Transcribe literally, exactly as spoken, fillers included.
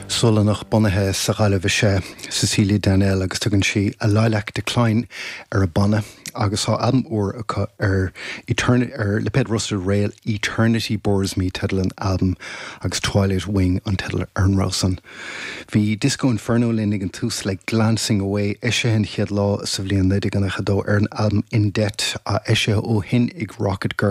Sualannach bunaithe sa Ghaillimh is ea Cecilia Danell agus tugann sí a Lilac Decline ar a banna agus tá albam úr acu ar Eternity ar lipéad Rusted Rail Eternity Bores Me teideal an albaim agus Twilight Wing an teideal ar an rogha san. Bhí Disco Inferno linn ag an tús le Glancing Away eisithe an chéad lá sa bhliain naoi déag nócha dó ar an albam In Debt a eisithe ó shin ag Rocket Girl.